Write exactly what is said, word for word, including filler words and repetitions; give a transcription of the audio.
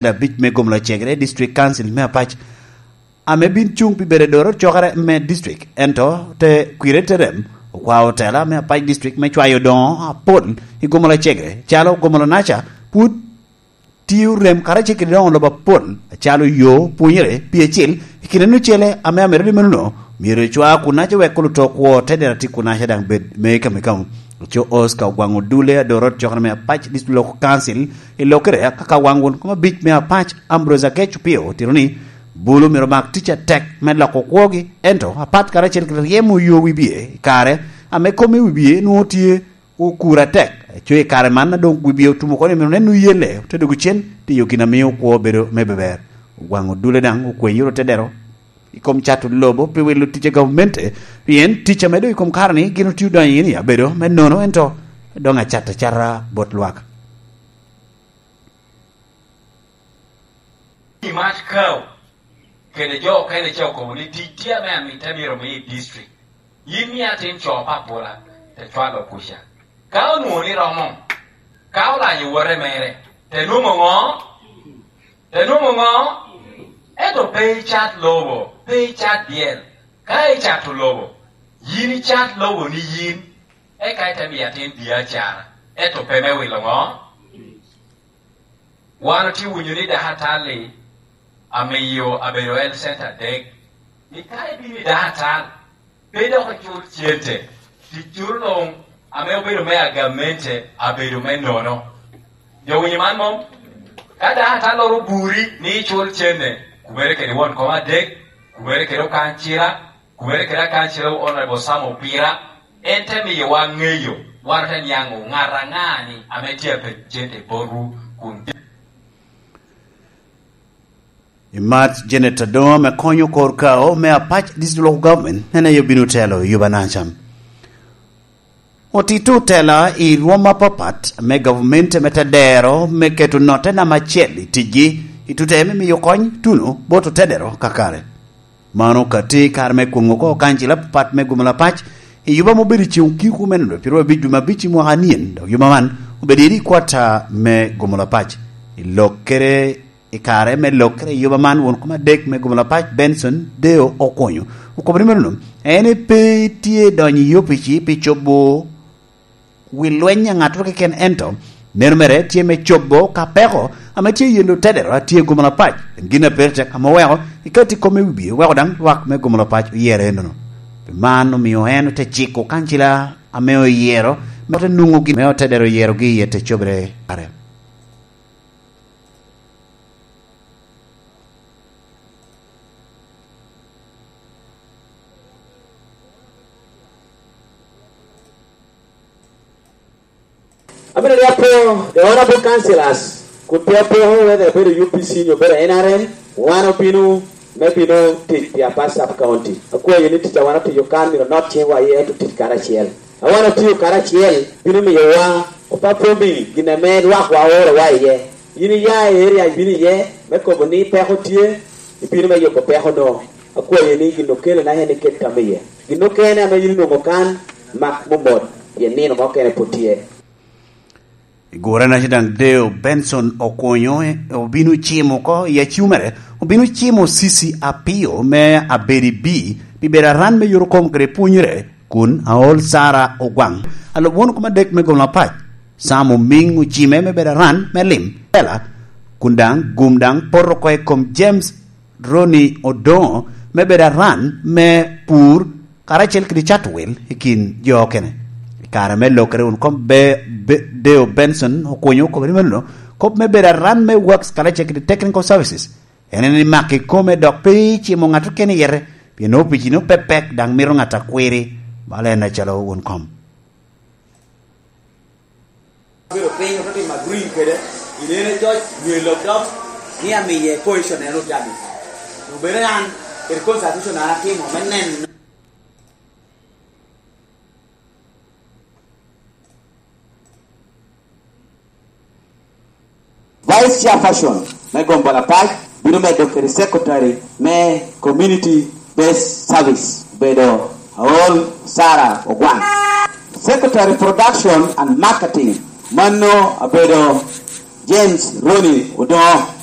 abic me Gomolo Cegere District Council me Apac, ame bin cuŋ pi bedo adoro cokere me district, ento te kwire te rem, okwao otela me Apac District me cwayo doŋo apol i Gomolo Cegere, calo Gomolo Naca, pwod tio rem karacel kede doŋo lobo apol, acalo yo, pwonyere, pi acil, i kine nocele ame amito ni menono, myero ecwa kunaca wek oluto kwo te dero ati kunaca daŋ bed me kamikamu. Oco Oscar Ogwaŋ Odule, adoro cokere me Apac District Local Council, i lokere, aka ka waŋ won kom abic me Apac, Ambrose Akec Opio, otito ni, bulu myero mak tic atek me loko kwogi, ento apat karacel kede ryemo yo wibie i kare ame kom i wibie nwoŋo tye okuro atek. Aco i kare man, a doŋ wibie otum oko ni myero onen oyelle, ote dwogo cen tiyo gin a mio kwo bedo me beber. Ogwaŋ Odule daŋ okwenyoro te dero i kom cato lobo pi wilo tic a gavamente, pien tic ame doŋ i kom kare-ni gin otio donyo iye ni abedo me nono, ento doŋ acat acata bot lwak. I Mat Kao kede jo okene ca okobo ni tic tye ame amito myero omi i district. Yin mia atin co papola, te cwalo kuca. Ka onwoŋo ni romo, ka olanyo wote mere, te nwoŋo ŋo? Te nwoŋo ŋo? Ento pe icat lobo, pe icat dyel. Ka icato lobo, yin icat lobo ni yin, eka ite miyo atin biacara, ento pe me wilo ŋo? Wan otye winyo ni dakatal-li amiyo abedo health center adek, ni ka ibino i dakatal, pe dok icul cente, ticcuno luŋ ame obedo me agamente abedo me nono. Jo winyo man mom? Ka dakatal-loro oburi ni icul cente, kubere kede won kom adek, kubere kede okancira, kubere kede akancira Honorable Sam Opira, en te miyowa ŋeyo, wan ote niaŋ ŋo, ŋat aŋa-ni ame tye a penyo cente botwu kun. I Mat Janet Adoŋo ame konyo kor kao me Apac District Local Government, en aye obino telo i Yuba Nacam. Otito otela i rwom apapat me gavumenti ame te dero me keto notte namba acel i ticgi, i tute me miyo kony tuno bot otedero kakare. Mano ka tye i kare me kwoŋo oko kancil apapat me Gomolo Apac i yuba ame obedo i ceŋ okiko me nino pyeru abic dwe me abic i mwaka anyen, dok yuba man obedo iri i kwata me Gomolo Apac. I lokkere, i kare me lokkere i yuba man, won kom adek me Gomolo Apac, Benson Deo Okonyo, okobo ni menono, en pe tye donyo i opici pi cobo wi lweny a ŋattoro keken, ento neno mere tye me cobo ka peko ame tye i yelo tedero a tye i Gomolo Apac. En gin a pire tek ame oweko i katti kome wibie, oweko daŋ lwak me Gomolo Apac oyere ennono. Pi man omio en ote ciko kancila ame oyero me ote nwoŋo gin me otedero oyerogi iye te cobere kare. Abino ni apo the honorable councillors, kun pe apoko whether obedo U P C nyo obedo N R M, wan obino me bino tic pi Apac Sub County. Akwayo ni tic a wan otiyo kan myero onot ciŋwa iye, ento tic karacel. A wan otiyo karacel bino miyowa opapwomi gin ame lwakwa oorowa iye. Yin iya i area ibino iye me kobo ni peko tye, ibino me yubo peko-no. Akwayo ni gin okele na en iket tam iye. Gin okene ame yin inwoŋo kan, mak momot, pien nino mukene pwod tye. I gure na daŋ Deo Benson Okonyo, eh, obino cimo oko i acumere, obino cimo Cici Apio me Abedi B pi bedo aran me yot okom kede pwonyere, kun aol Sara Ogwaŋ, alub won kom adek me Gomolo Apac, Sam Omiŋ ocime me bedo aran me lim, Ela, kun daŋ gum daŋ poto oko i kom James Ronnie Odoŋo me bedo aran me pur karacel kede cato wil i kin jo okene. I kare me lokere won kom Be-, Be-, Deo Benson Okonyo okobo ni menono, kop me bedo aran me Works karacel kede Technical Services, en en ni mak ikome dok pe icimo ŋat okene i yete, pien opicino pe pek daŋ mito ŋat a kwiri, bala en acalo won kom. Obedo piny, ote timo agree kede, gin en ecoc, nyo i lok dok, ni amiye position en otabi. Obedo an, kede consultation an atimo, me neno. Vice Chairperson me Gomolo Apac bino medo kede Secretary me Community Based Service, obedo Aol Sarah Ogwang. Secretary Production and Marketing, mano obedo James Ronnie Odongo.